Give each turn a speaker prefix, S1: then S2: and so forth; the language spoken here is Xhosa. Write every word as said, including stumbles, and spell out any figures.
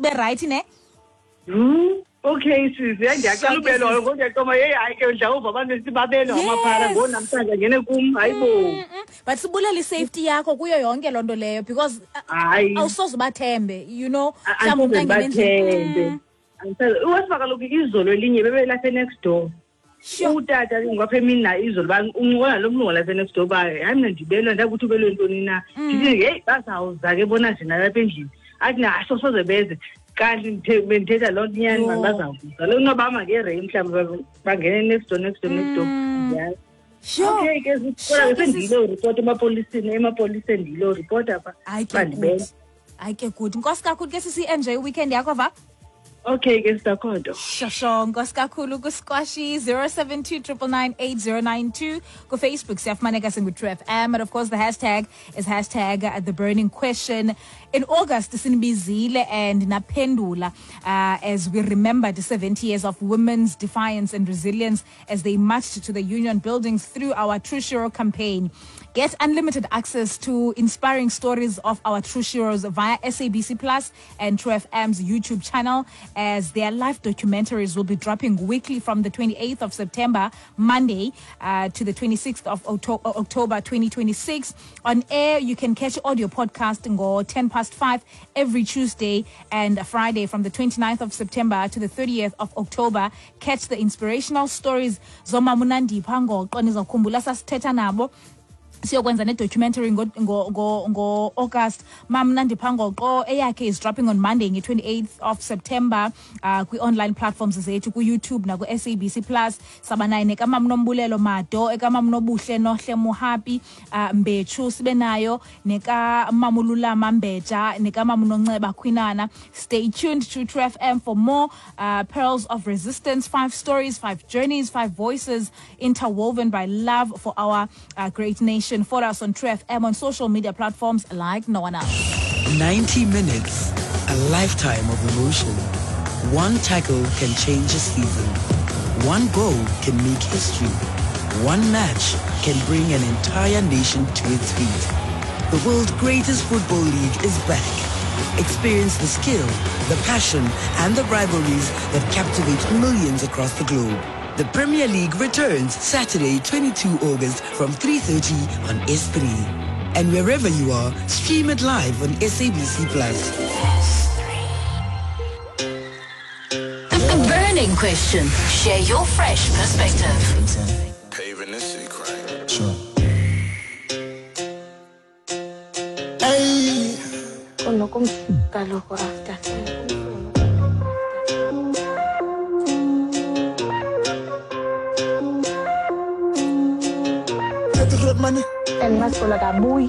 S1: ube right ne?
S2: Hmm. Okay sisi, ndiyacela ubelwa ngoku ndiyaqoma hey hayi ke mhlawumbe abantu sibabelwa amaphara
S1: Yes.
S2: ngo namhlanje ngene kum hayibo.
S1: Mm, mm. But sibulela i-safety yakho kuyo yonke loo nto leyo because uh,
S2: Hayi.
S1: awusoze ubathembe, you know.
S2: A-
S1: Mhlawumbi umntu
S2: andisoze
S1: angene endlini.
S2: ndibathembe.
S1: Mm.
S2: Andisazi- Uwesiba kaloku izolo elinye bebelapha next door.
S1: Sure.
S2: Utata ke ngoku apha emini naye izolo uba uncokola nalo mlungu walapha next door uba hayi mna ndibelwa ndakuthi ubelwe ntoni na.
S1: Mm.
S2: Ndithi heyi bazawuza ke bona nje nalapha endlini. Athi na sosoze beze. Kanti ndithe- bendithetha loo nto inyani
S1: Yho.
S2: mani bazawuza. Lo noba ngereyi mhlawumbi ba- bangene next door next door next door.
S1: Mm.
S2: Yeah.
S1: Sure.
S2: Okay ke kodwa
S1: Sure,
S2: ke sendiyile uripota emapoliseni emapoliseni ndiyile uripota pha.
S1: Hayi ke
S2: Bandibela.
S1: good. Hayi ke good. Nkosi kakhulu ke sisi, enjoy weekend yakho va.
S2: Okay ke sitakhondo.
S1: Shosho, nkosi kakhulu kuSquashy zero seven two triple nine eight zero nine two ku Facebook siyafumaneka singu True F M, and of course the hashtag is hashtag the burning question. In August sinibizile and naphendula, uh, as we remember the seventy years of women's defiance and resilience as they marched to the union buildings through our True Shiro campaign. Get unlimited access to inspiring stories of our True Shiros via S A B C Plus and True F M's YouTube channel, as their live documentaries will be dropping weekly from the twenty-eighth of September, Monday, uh, to the twenty-sixth of Octo-, October twenty twenty-six. On air, you can catch audio podcast ngo ten past five every Tuesday and Friday from the twenty-ninth of September to the thirtieth of October. Catch the inspirational stories zoma Munandipha ngoqo nizawukhumbula sasithetha nabo. Siyokwenza ne-documentary ngo, ngo, ngo, ngo August. Mam Nandipha Ngoqo eyakhe is dropping on Monday nge-twenty-eighth of September, uh, kwi-online platforms zethu ku-YouTube naku-S A B C Plus. Saba naye nekamam Nombulelo Mado, ekamam Nobuhle Nohle Muhapi, uh, Mbechu sibe nayo nekamamululama Mbeja, nekamam Nonceba Khwinana. Stay tuned to True F M for more, uh, Pearls of Resistance, five stories, five journeys, five voices interwoven by love for our, uh, great nation. Follow us on True F M on social media platforms like no one else.
S3: ninety minutes, a lifetime of emotion. One tackle can change a season. One goal can make history. One match can bring an entire nation to its feet. The world's greatest football league is back. Experience the skill, the passion, and the rivalries that captivate millions across the globe. The Premier League returns Saturday, twenty-two August from three thirty on S three. And wherever you are, stream it live on S A B C Plus.
S4: The burning question. Share your fresh perspective.
S5: Paving the secret.
S6: Sure. Hey.
S7: After.
S6: Money.
S7: And that's all I got, boy.